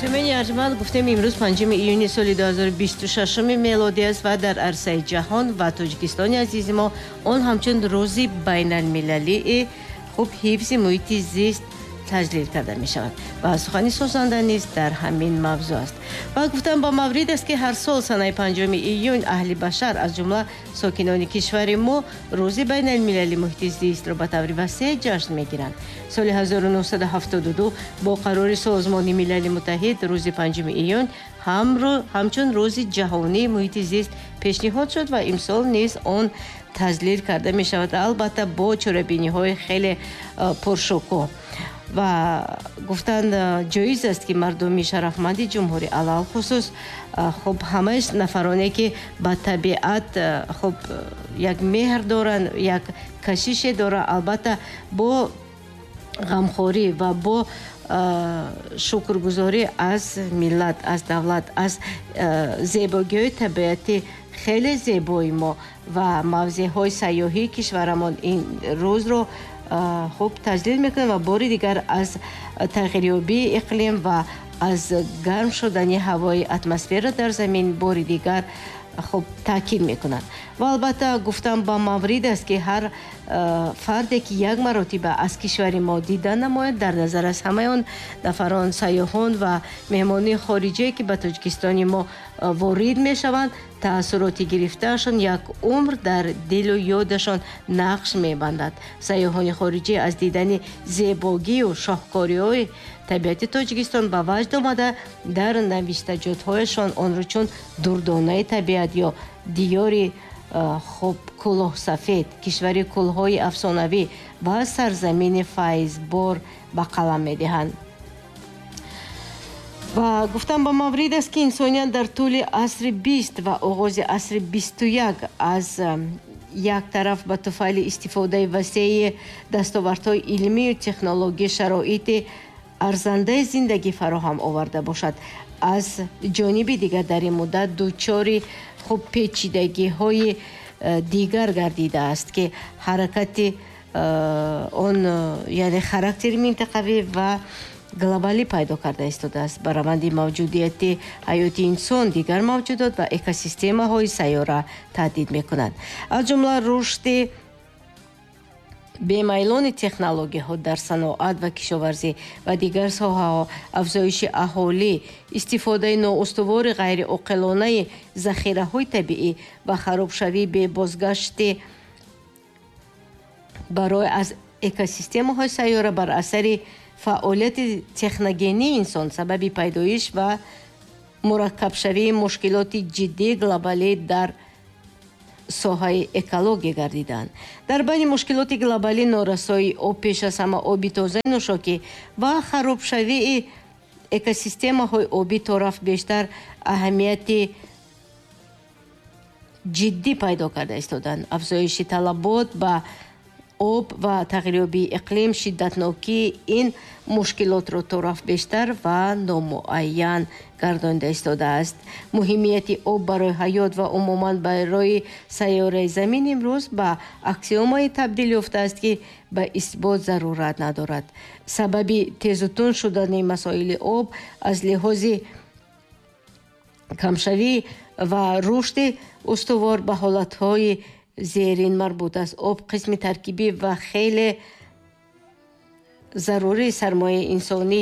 Сумени арҷманд, гуфтем, имрӯз 5 июни соли 2026 мелодӣ аст ва дар арсаи ҷаҳон ва Тоҷикистони азизи мо он ҳамчун рӯзи байналмилалии хуб ҳифзи муҳити зист таҷлил карда мешавад ва сухани созанда низ дар ҳамин мавзӯъ аст. Ва гуфтам ба маврид аст, ки ҳар сол санаи 5 июн аҳли башар, аз ҷумла сокинони кишвари мо, рӯзи байналмилали муҳити зистро ба таври васеъ ҷашн мегиранд. Соли 1972 бо қарори Созмони Милали Муттаҳид рӯзи 5 июн ҳамчун рӯзи ҷаҳонии муҳити зист пешниҳод шуд ва имсол низ он таҷлил карда мешавад, албатта бо чорабиниҳои хеле пуршукӯҳ. Ва гуфтан ҷоиз аст, ки мардуми шарафманди ҷумҳурӣ, алалхусус хуб ҳамаи нафароне, ки ба табиат хуб як меҳр доранд, як кашише доранд, албатта бо ғамхорӣ ва бо шукргузорӣ аз миллат, аз давлат, аз зебогиҳои табиати хеле зебои мо ва мавзеъҳои сайёҳии кишварамон ин рӯзро хуб таҷлил мекунем ва бори дигар аз тағйирёбии иқлим ва аз гарм шудани ҳавои атмосфера дар замин бори дигар хуб таъкид мекунанд. Ва албатта гуфтам ба маврид аст, ки ҳар фарде, ки як маротиба аз кишвари мо дида намояд, дар назар аз ҳамаи он нафарон, сайёҳон ва меҳмонони хориҷие, ки ба Тоҷикистони мо ворид мешаванд, таассуроти гирифтаашон як умр дар дилу ёдашон нақш мебандад. Сайёҳони хориҷӣ аз дидани зебогию шоҳкориҳои табиати Тоҷикистон ба ваҷд омада, дар навиштаҷотҳояшон онро чун дурдонаи табиат ё диёри хуб кӯлоҳсафед, кишвари кӯлҳои афсонавӣ ва сарзамини файзбор ба қалам медиҳанд. Ва гуфтам ба маврид аст, ки инсоният дар тӯли асри 20 ва оғози асри 21 аз як тараф ба туфайли истифодаи васеи дастовардҳои илмию технологӣ шароити арзандаи зиндагӣ фароҳам оварда бошад, аз ҷониби дигар дар ин муддат дучори хуб печидагиҳои дигар гардидааст, ки ҳаракати он, яъне характери минтақавӣ ва глобалӣ пайдо карда истодааст. Ба раванди мавҷудияти ҳаёти инсон, дигар мавҷудот ва экосистемаҳои сайёра таҳдид мекунанд. Аз ҷумла рушди бемайлони технологияҳо дар саноат ва кишоварзӣ ва дигар соҳаҳо, афзоиши аҳолӣ, истифодаи ноустувори ғайриоқилонаи захираҳои табиӣ ва харобшавии бебозгашти барои аз экосистемаҳои сайёра бар асари фаъолияти техногении инсон сабаби пайдоиш ва мураккабшавии мушкилоти ҷиддии глобалӣ дар соҳаи экология гардиданд. Дар байни мушкилоти глобалӣ норасоии об, пеш аз ҳама оби тозаи нӯшокӣ, ва харобшавии экосистемаҳои обӣ торафт бештар аҳамияти ҷиддӣ пайдо карда истоданд. Афзоиши талабот ба об ва тағйирёбии иқлим шиддатнокии ин мушкилотро торафт бештар ва номуайян гардонида истодааст. Муҳимияти об барои ҳаёт ва умуман барои сайёраи замин имрӯз ба аксиомае табдил ёфтааст, ки ба исбот зарурат надорад. Сабаби тезутун шудани масоили об аз лиҳози камшавӣ ва рушди устувор ба ҳолатҳои зерин марбут аст. Об қисми таркибӣ ва хеле зарурии сармояи инсонӣ,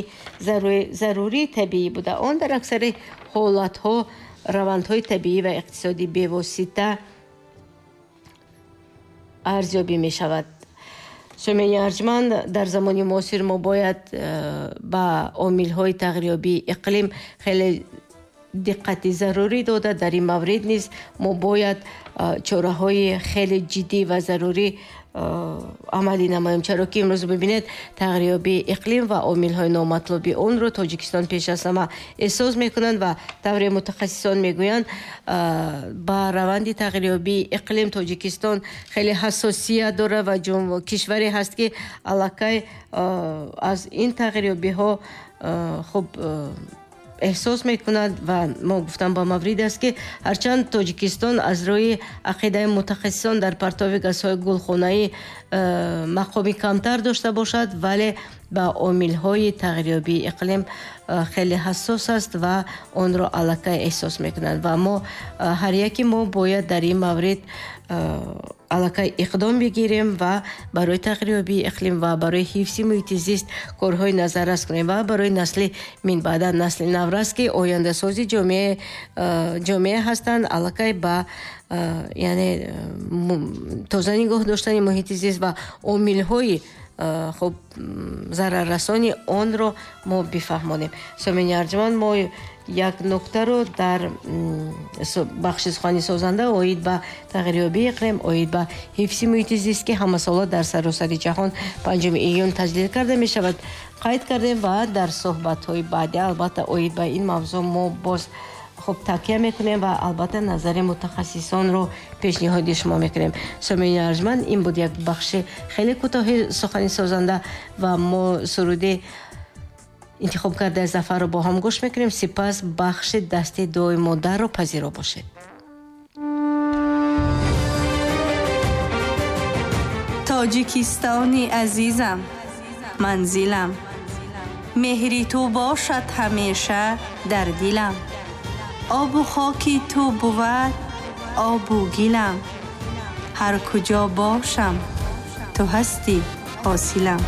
зарурии табиӣ буда, он дар аксари ҳолатҳо равандҳои табиӣ ва иқтисодӣ бевосита арзёбӣ мешавад. Сумени арҷманд, дар замони муосир мо бояд ба омилҳои тағйирёбии иқлим хеле диққати зарурӣ дода, дар ин маврид низ мо бояд чораҳои хеле ҷиддӣ ва зарурӣ амалӣ намоем, чаро ки имрӯз бибинед, тағйирёбии иқлим ва омилҳои номатлуби онро Тоҷикистон пеш аз ҳама эҳсос мекунанд ва тавре мутахассисон мегӯянд, ба раванди тағйирёбии иқлим Тоҷикистон хеле ҳассосият дорад ва кишваре ҳаст, ки аллакай аз ин тағйирёбиҳо хуб эҳсос мекунад. Ва мо гуфтам ба маврид аст, ки ҳарчанд Тоҷикистон аз рӯи ақидаи мутахассисон дар партови газҳои гулхонаӣ мақоми камтар дошта бошад, вале ба омилҳои тағйирёбии иқлим хеле ҳассос аст ва онро аллакай эҳсос мекунанд ва мо ҳар яке мо бояд дар ин маврид аллакай иқдом бигирем ва барои тағйирёбии иқлим ва барои ҳифзи муҳити зист корҳои назаррас кунем ва барои насли минбаъда, насли наврас, ки ояндасози ҷомеа ҳастанд, аллакай ба яъне тоза нигоҳ доштани муҳити зист ва омилҳои хуб зараррасони онро мо бифаҳмонем. Сомини арҷуманд, мо як нуктаро дар бахши сухани созанда оид ба тағйирёбии иқлим, оид ба ҳифзи муҳити зист, ки ҳамасола дар саросари ҷаҳон 5 июн таҷлил карда мешавад, қайд кардем ва дар суҳбатҳои баъдӣ албатта оид ба ин мавзӯъ мо боз хуб такя мекунем ва албатта назари мутахассисонро пешниҳоди шумо мекунем. Сомини арҷманд, ин буд як бахши хеле кӯтоҳи сухани созанда ва мо суруди интихоб кардаи Зафарро бо ҳам гӯш мекунем. Сипас бахши дасти дуои модарро пазиро бошед. Тоҷикистони азизам, манзилам, меҳри ту бошад ҳамеша дар дилам. Обу хоки ту бувад обу гилам, ҳар куҷо бошам ту ҳастӣ ҳосилам.